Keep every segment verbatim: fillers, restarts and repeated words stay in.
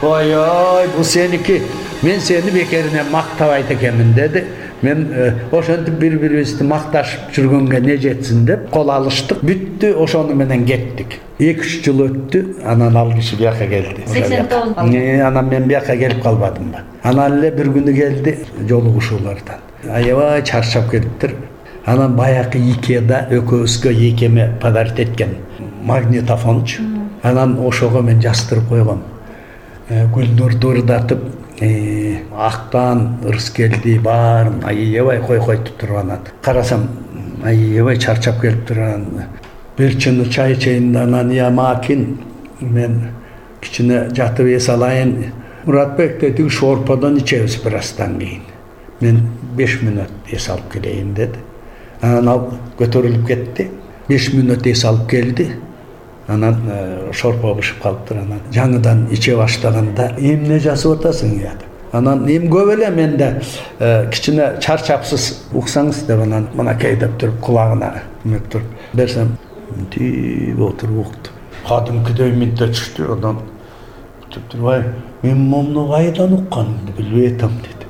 ой ой бул сеники, мен сени бекерине мактабайт экенмин деди. Мен ошентип бири-бирибизди макташып жүргөнгө не жетсин деп кол алыштык. Бүттү, ошону менен кеттик. эки үч жыл өттү, анан ал киши бияка келди. сексен тогуз. Анан мен бияка келип калбадымбы. Анан эле бир күнү келди жолугушуулардан. Аябай чарчап келиптир. Анан баягы Икеада экөөбүзгө Икеме подарить эткен магнитофончу. Анан ошого мен жаздырып койгом. Гүлнурду ырдатып, актан ырыс келди, баарын аябай кой койтуп турган. Карасам аябай чарчап келиптир. Бир чыны чай чейин, анан я макин мен кичине жатып эс алайын. Муратбек деди, шорподон ичебиз бир аздан кийин. Мен беш мүнөт эс алып келейин деди. Анан ал көтөрүлүп кетти. беш мүнөт эс алып келди. Анан шорпо бышып калыптыр. Анан жаңыдан иче баштаганда эмне жасап атасың я деп. Анан эми көп эле менде кичине чарчапсыз уксаңыз деп анан мынакей деп туруп кулагына эмеп туруп берсем тип отуруп укту. Кадимкидей минте түштү. Анан турбай мен муну кайдан укканымды билбей атам деди.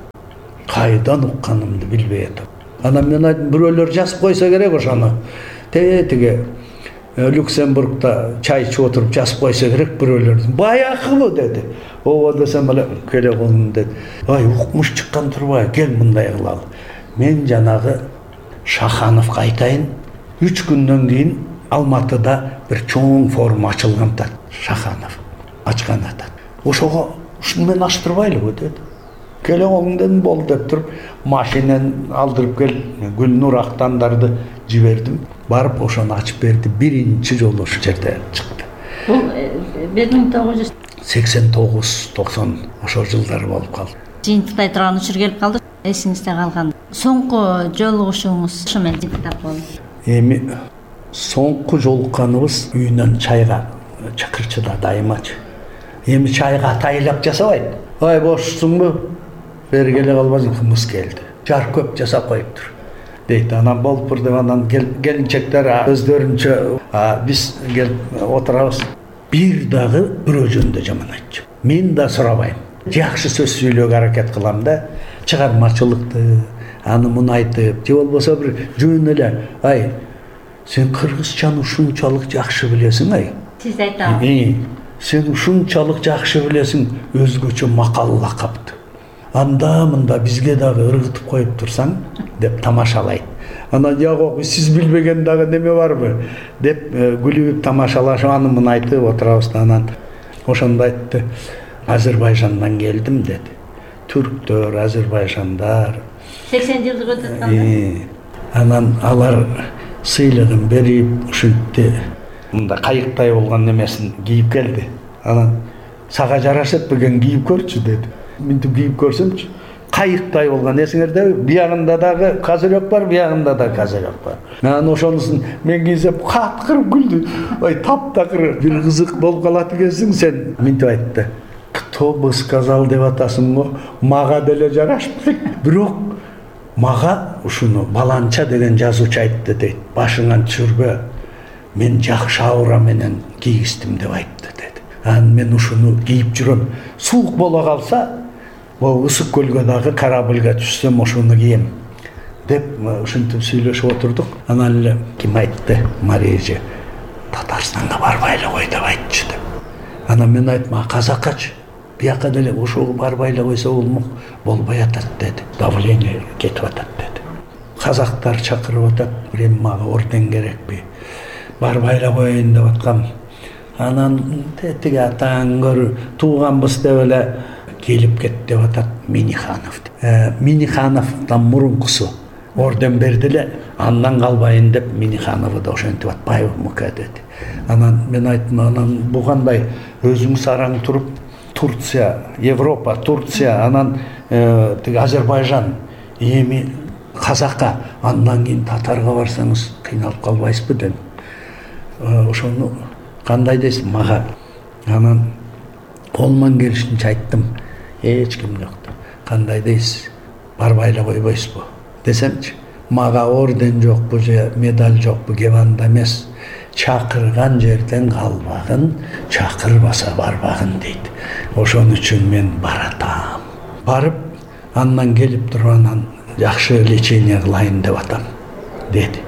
Кайдан укканымды билбей атам. Анан мен айттым, бирөөлөр жазып койсо керек ошону. Тетиге Люксембургда чай ичип отуруп жазып койсо керек бирөөлөр. Баягыбы деди. Ооба десем эле келе колум деди. Ай, укмуш чыккан турбай, кел мындай кылалы. Мен жанагы Шахановго айтайын. үч күндөн кийин Алматыда бир чоң форум ачылган да, Шаханов ачкан атат. Ошого ушуну мен аштырбайлыбы деди. Келе колуң дедим, болду деп туруп машинен алдырып кел, Гүлнур актандарды жибердим. Барып ошону ачып берди. Биринчи жолу ошол жерде чыкты. Бул бир миң тогуз жүз сексен тогуз токсон ошол жылдары болуп калды. Жыйынтыктай турган учур келип калды. Эсиңизде калган соңку жолугушууңуз ошо менен жыйынтыктап болду. Эми соңку жолукканыбыз үйүнөн чайга чакырчыда дайымачы. Эми чайга атайлап жасабайт. Ай, бошсуңбу? Бери келе калбасың, кымыз келди. Жар көп жасап коюптур дейт. Анан болуптур деп анан келинчектер өздөрүнчө биз келип отурабыз. Бир дагы бирөө жөнүндө жаман айтчу. Мен да сурабайм. Жакшы сөз сүйлөөгө аракет кылам да, чыгармачылыкты, аны муну айтып, же болбосо бир жөн эле, ай, сен кыргызчаны ушунчалык жакшы билесиң, ай. Сиз айтабыз. Сен ушунчалык жакшы билесиң, өзгөчө макал лакапты. Анда мында бизге дагы ыргытып коюп турсаң деп тамашалайт. Анан жагы сиз билбеген дагы неме барбы деп күлүп тамашалашып аны муну айтып отурабыз. Анан ошондо айтты. Азербайжандан келдим деди. Түрктөр, азербайжандар. сексен жылдык өтүп атканда. Анан алар сыйлыгын берип, ушинтти мында кайыктай болгон немесин кийип келди. Анан сага жарашат беген кийип көрчү деди. Минтип кийип көрсөмчү, кайыктай болгон, эсиңерде биягында дагы козырек бар, биягында да козырек бар. Анан ошонусун мен кийсем каткырып күлдү. Ой, таптакыр бир кызык болуп калат экенсиң сен. Минтип айтты. Кто бы сказал деп атасың го, мага деле жарашпайт. Бирок мага ушуну Баланча деген жазуучу айтты дейт. Башыңан түшүрбө. Мен жакшы аура менен кийгиздим деп айтты деди. Анан мен ушуну кийип жүрөм. Суук боло калса, бул ысык көлгө дагы корабльга түшсөм ошону кийем деп ушинтип сүйлөшүп отурдук. Анан эле ким айтты? Марежи. Татарстанга барбай эле кой деп айтчы деп. Анан мен айттым, а казакачы? Бияка деле ошого барбай эле койсо болмок, болбой атат деди. Давление кетип атат деди. Казактар чакырып атат, эми мага орден керекпи? Барбай эле коеюн деп аткам. Анан тетиги атаң көр, тууганбыз деп эле келип кет деп атат Миниханов. Минихановдон мурункусу орден берди эле, андан калбайын деп Миниханову да ошентип атпайбы мука деди. Анан мен айттым, анан бу кандай өзүңүз араң туруп Турция, Европа, Турция, анан тиги Азербайжан, эми казакка, андан кийин татарга барсаңыз кыйналып калбайсызбы дедим. Ошону кандай дейсиң мага? Анан колуман келишинче айттым. Эч ким жок. Кандай дейсиз? Барбай эле койбойсузбу? Десемчи, мага орден жокпу же медаль жокпу, кебанда эмес. чакырган жерден калбагын, чакырбаса барбагын дейт. Ошон үчүн мен баратам. Барып, андан келип туруп анан жакшы лечение кылайын деп атам деди.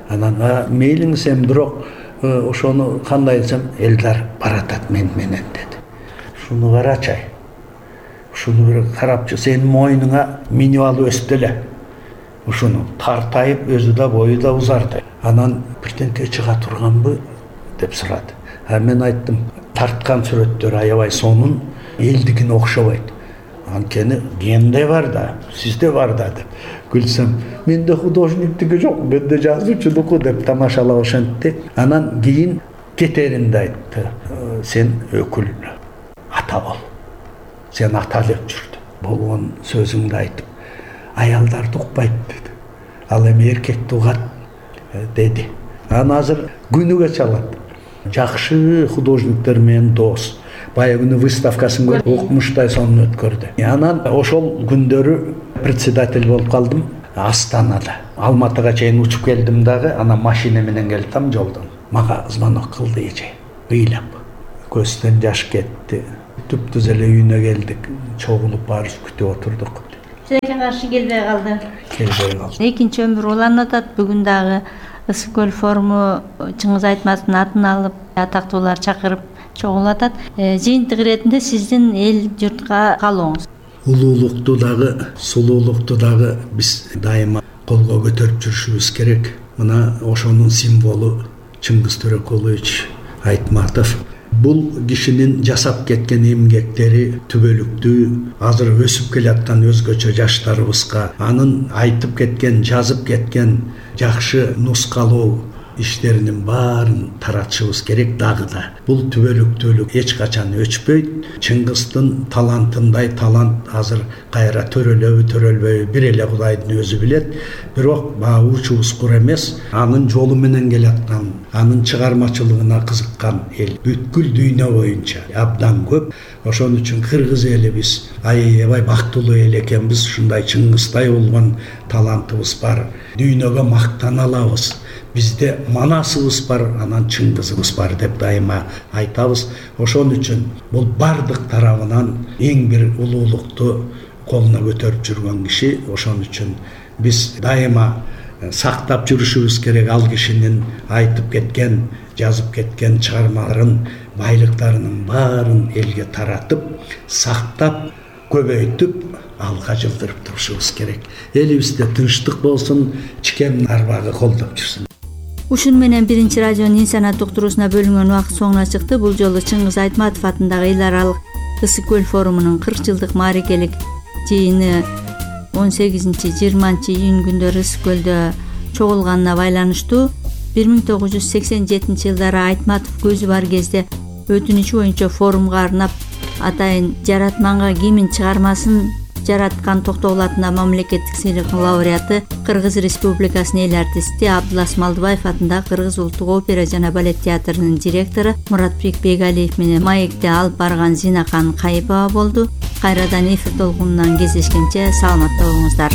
Анан мейлиңиз эми бирок ошону кандай десем, Элдар баратат мен менен деди. Шуну карачай. Ушуну бир карапчы, сенин мойнуңа минип алып өсүп эле. Ушуну тартайып, өзү да бою да узарды. Анан бирденке чыга турганбы деп сурады. А мен айттым, тарткан сүрөттөр аябай сонун, элдикине окшобойт. Анткени генде бар да, сизде бар да деп. Күлсөм, менде художниктиги жок, менде жазуучулуку деп тамашалап ошентти. Анан кийин кетеринде айтты, сен өкүл ата бол. Сен ата деп жүрдү. Болгон сөзүңдү айтып, аялдарды укпайт деди. Ал эми эркекти угат деди. Анан азыр күнүгө чалат. Жакшы художниктер менен дос. Баягы күнү выставкасын көрүп, укмуштай сонун өткөрдү. Анан ошол күндөрү председатель болуп калдым Астанада. Алматыга чейин учуп келдим дагы, анан машина менен келдим жолдон. Мага звонок кылды эже. Ыйлап. Көздөн жаш кетти. Түп-түз эле үйүнө келдик. Чогулуп барып күтүп отурдук. Силерге каршы келбей калды. Келбей калды. Экинчи өмүр уланып атат. Бүгүн дагы Ысык көл форуму Чыңгыз Айтматовдун атын алып, атактуулар чакырып чогулуп атат. Жыйынтык иретинде сиздин эл журтка калооңуз. Улуулукту дагы, сулуулукту дагы биз дайыма колго көтөрүп жүрүшүбүз керек. Мына ошонун символу Чыңгыз Төрөкулович Айтматов. Бул кишинин жасап кеткен эмгектери түбөлүктүү, азыр өсүп келаткан өзгөчө жаштарыбызга анын айтып кеткен, жазып кеткен жакшы нускалоо иштеринин баарын таратышыбыз керек дагы да. Бул түбөлүктүүлүк эч качан өчпөйт. Чыңгыздын талантындай талант азыр кайра төрөлөбү, төрөлбөйбү бир эле Кудайдын өзү билет. Бирок баа учубуз кур эмес, анын жолу менен келаткан, анын чыгармачылыгына кызыккан эл бүткүл дүйнө боюнча абдан көп. Ошон үчүн кыргыз элибиз аябай бактылуу эл экенбиз. Ушундай Чыңгыздай болгон талантыбыз бар. Дүйнөгө мактана алабыз. Бизде манасыбыз бар, анан Чыңгызыбыз бар деп дайыма айтабыз. Ошон үчүн бул бардык тарабынан эң бир улуулукту колуна көтөрүп жүргөн киши. Ошон үчүн биз дайыма сактап жүрүшүбүз керек ал кишинин айтып кеткен, жазып кеткен чыгармаларын, байлыктарынын баарын элге таратып, сактап, көбөйтүп, алга жылдырып турушубуз керек. Элибизде тынчтык болсун, чикем арбагы колдоп жүрсүн. Ушун менен биринчи радионун инсанат уктуруусуна бөлүнгөн убакыт соңуна чыкты. Бул жолу Чыңгыз Айтматов атындагы эл аралык Ысык көл форумунун кырк жылдык маарекелик жыйыны он сегизинчи жыйырманчы июнь күндөрү Ысык көлдө чогулганына байланыштуу бир миң тогуз жүз сексен жетинчи жылдары Айтматов көзү бар кезде өтүнүчү боюнча форумга арнап атайын жаратманга кимин чыгармасын жараткан токтогул атында мамлекеттик сыйлыктын лауреаты, Кыргыз Республикасынын эл артисти Абдулас Малдыбаев атындагы Кыргыз улуттук опера жана балет театрынын директору Муратбек Бегалиев менен маекте алып барган Зинакан Кайыпова болду. Кайрадан эфир толкунунан кездешкенче саламатта болуңуздар.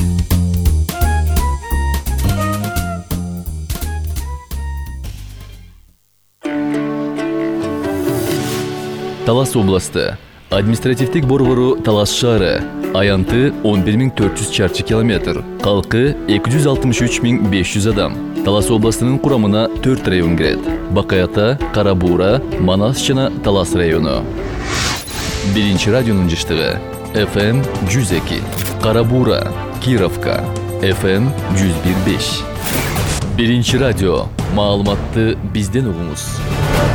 Талас областы административдик борбору Талас шаары. Аянты он бир миң төрт жүз чарчы километр. Калкы эки жүз алтымыш үч миң беш жүз адам. Талас областынын курамына төрт район кирет. Бакаята, Карабуура, Манас жана Талас району. Биринчи радионун жыштыгы эф эм жүз эки. Карабуура, Кировка, эф эм жүз бир беш. Биринчи радио. Маалыматты бизден угуңуз.